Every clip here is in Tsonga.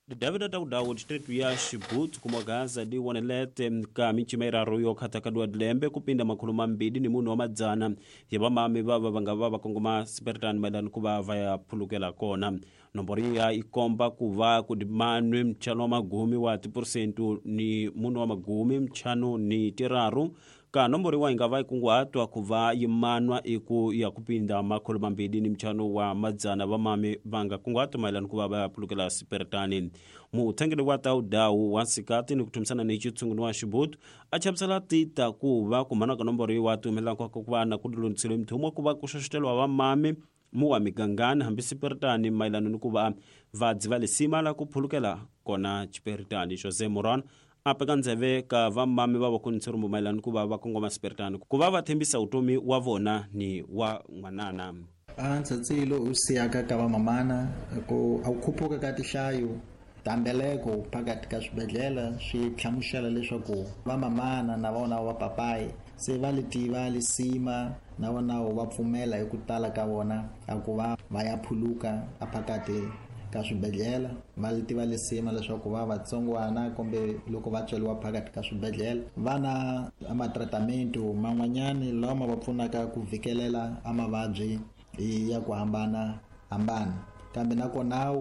David Taudawu distritu ya Xibutsu kuma Gaza di wonelete ka mincima iraru yo khataka dua dilembe kupinda makhulu mambili ni munhu wa madzana ya vamami vava va nga va va kongoma siperitani mayelana ku va va ya phulukela kona. Nomboro ya ikomba ku va ku dimanwe mchano wa magumi wa tipurusentu ni munhu wa magumi mchano ni tiraru ka nomboro yiwa yi nga va yi kunguhatwa ku va yi manwa i ku ya kupinda makhulu mambili ni mchano wa madzana vamami va nga kunguhata mayelana ku va va ya phulukela siperitani. Mutshengeli wa taudawu wa nsikati ni ku thumisana ni xitshunguni wa Xibutu a chavisela tita ku va ku manwa ka nomboro yiwa ti humelelaka ku va na ku lulamiseliwe mithumo ku va ku xoxeteriwa vamami mu wa migangani hambi siperitani mayelana ni ku va va dziva lisima la ku phulukela kona xiperitani. Jose Moran a peka ndzeve ka vamami va vakonitshirumbu mayelana ni ku va va kongoma siperitani ku va va tshembisa vutomi wa vona ni wa n'wanana. A ntsatsilo u siyaka ka vamamana ku a ku khuphuka ka tihlayo ta mbeleko phakathi ka swibedhlele swi hlamusela leswaku vamamana na vona va papayi se va li tiva lisima na vona va pfumela hi ku tala ka vona a ku va va ya phuluka a phakathi ka swibedhlele. Va li tiva lisima leswaku va vatsongwana kumbe loko va tsweliwa phakathi ka swibedhlele va na amatratamentu man'wanyani lawa ma va pfunaka ku vhikelela a mavabyi ya ku hambana hambana. Kambe nakona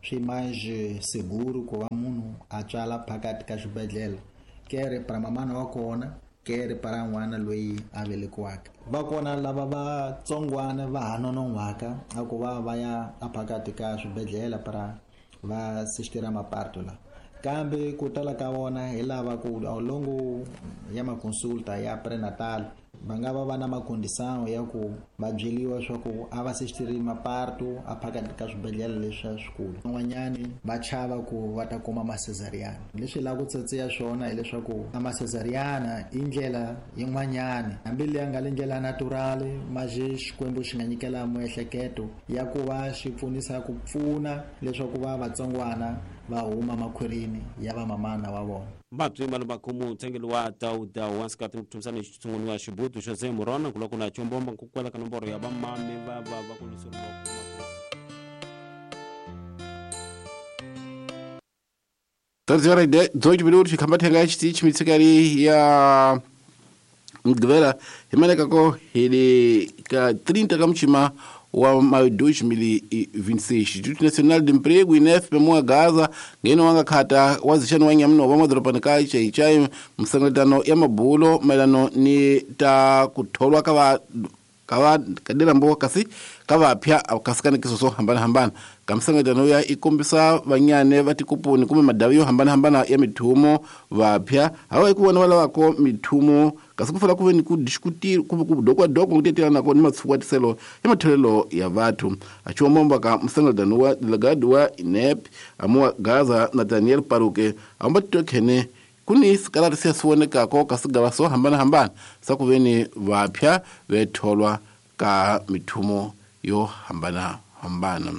swi mais seguro ku va munhu a tswala phakathi ka xibedhlele kere para mamana wa kona kere para n'wana loyi a velekiwaka. Va kona lava vatsongwana va ha nonon'hwaka a ku va va ya a phakathi ka swibedhlele para va assistira maparto la, kambe ku tala ka vona hi lava ku ao longo ya maconsulta ya prenatal va nga va va na macondição ya ku va byeliwa swa ku a va assistiri maparto a phakathi ka swibedhlele leswi swikulu. Van'wanyani va chava ku va ta kuma macesariana. Leswi lava ku tsatsiya swona hileswaku a macesariana i ndlela yin'wanyani hambi leyi nga le ndlela natural maje Xikwembu xi nga nyikela miehleketo ya ku va xi pfunisa ku pfuna leswaku va vatsongwana va huma makhwirini ya vamamana wa vona. Mabyi malumakhumu mutshengeli wa Taudawu wa nsikati ni ku thumisana xitshunguni wa Xibutu Jose Morona ku loko na chombomba ku kwela ka nomboro ya vamami va va va kuliseriwa Treze 18 minutos khambathenga xitichi mitsikali ya Mugqivela hi manekako hi le ka 30 ka muchima wa maio 2026. Instituto Nacional de Emprego INEF pemuwa Gaza ngeno wanga khata wazixani wa nyamuno wa madorobani ka Chaichai msangaletano ya mabulo mayelano ni ta ku tholwa ka va ka kadela mbo kasi ka vapya kasikanikiso swo hambanahambana. Ka msangaletano ya i kombisa vanyane va tikupuni kumbe madavi yo hambanahambana ya mithumo vapya hawa ku vona va lavako mithumo kasi ku fanele ku ve ni ku discutir kumbe ku dokwadokwa ku tetelanako ni matshuwatiselo ya matholelo ya vathu. Achiwomomba ka msangaletano wa delegado wa INEP amuwa Gaza Nathaniel Paruke amba titokhene kuni sikalati siya siwonekako ka sigava swo hambanahambana sa ku ve ni vapya vetholwa ka mithumo yo hambanahambana.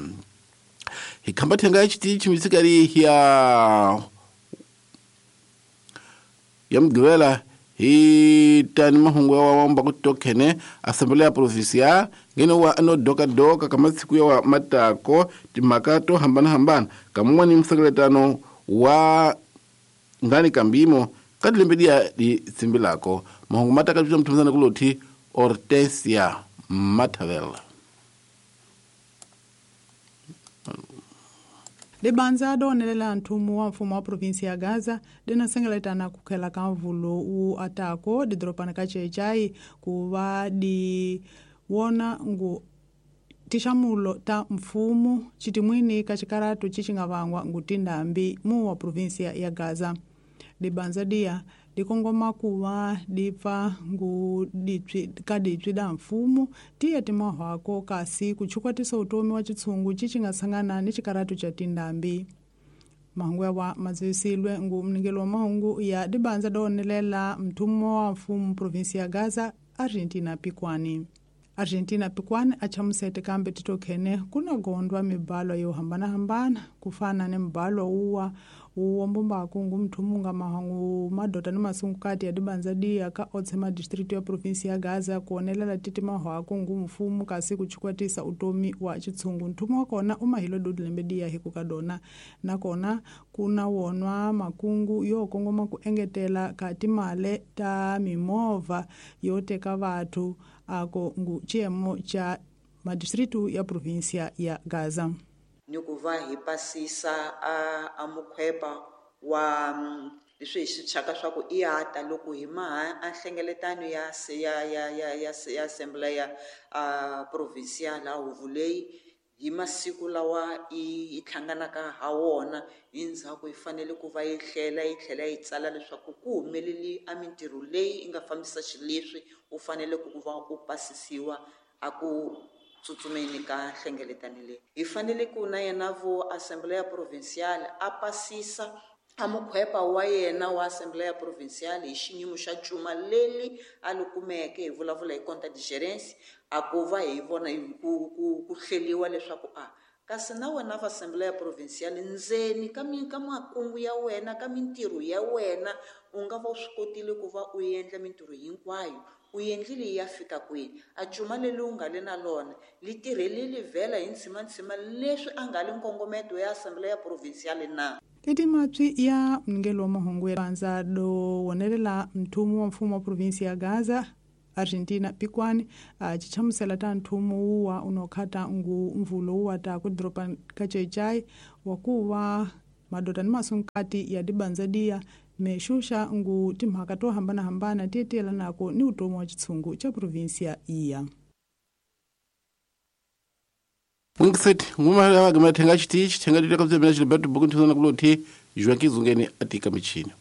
Hi khambathenga xitichi mitsikali ya Mugqivela hi tani mahungu ya wamba ku tokhene Assembleia Provincial ngeno wa ano dokadoka ka masiku ya wa matako timhaka to hambanahambana ka mun'wani msangaletano wa ngani kambimo ka tilembe liya li tsimbilako. Mahungu ma taka mthumisana kulothi Hortensia Matavela. Libanza donelela nthumu wa mfumo wa provinsi ya Gaza linasengeletana kukhela ka mvulo wu atako didoropani ka Chechai ku va di wona ngu tixamulo ta mfumo xitimwini ka xikaratu xi nga vangwa ngu tindhambi mu wa provinsi ya Gaza. Libanza diya di kongoma ku va di pfa ngu dipyi ka dipyi da mfumo tiya timahwako kasi ku chukwatisa utomi wa xitshungu xi nga sangana ni xikaratu xa tindhambi. Mahungu ya wa maziwisilwe ngu mningelo wa mahungu ya dibanza donelela mthumo wa mfumo provinsi ya Gaza Argentina Pikwani. Argentina Pikwani a chamusete kambe titokhene kuna gondwa mibalo yo hambanahambana kufana ni mbalo uwa uwombombako ngu mthumunga mahangu madota ni masungukati ya dibanza diya ka otse madistritu ya provinsi ya Gaza kuonelela titi mahwako ngu mfumu kasi kuchikwatisa utomi wa chitshungu. Nthumu wa kona umahilo dudilembe diya hiku kadona nakona kuna wonwa makungu yo kongoma ku engetela ka timale ta mimovha yo teka vathu ako ngu chiemo cha madistritu ya provinsia ya Gaza. Ni ku va hi pasisa a mukhwepa wa leswi hi swi thyaka swa ku i ata loko hi maha a nhlengeletano ya ya ya ya ya ya assembly ya provincial la huvo leyi hi masiku lawa yi hlanganaka ha wona hi ndzhaku yi fanele ku va yi hlela yi tlhela yi tsala leswaku ku humeleli a mintirho leyi yi nga fambisa xileswi u fanele ku va u pasisiwa a ku tsutsumeni ka nhlengeletano leyi. Hi fanele ku na yena vo assembleya provincial a pasisa a mukhwepa wa yena wa assembleya provincial hi xiyimo xa cuma leli a li kumeke hi vulavula hi compte de gerence a ku va hi vona ku hleliwa leswaku a kasi na wena va assembleya provincial ndzeni ka ka makungu ya wena ka mintirho ya wena u nga va u swi kotile ku va u endla mintirho hinkwayo u endlile ya fika kwini a cuma leli u nga le na lona li tirhelile vhela hi ntshimantsima leswi a nga le nkongometo ya assembleya provincial na. Teti mapyi ya mningelo wa mahungu ya banza do wonelela mthumu wa mfumo wa provinsi ya Gaza Argentina Pikwani chichamusela ta nthumu uwa unokhata ngu mvulo uwa ta kudropa kachechai wakuwa madota ni masunkati ya dibanza diya mexuxa ngu timhaka to hambanahambana ti tiyelanako ni utomi wa chitshungu cha provinsia iya. Mwingiseti ngumala wage mathenga chitichi thenga lile kabza mina Gilberto Buku nthuzana kulothi Joaquim Zungeni atika michini.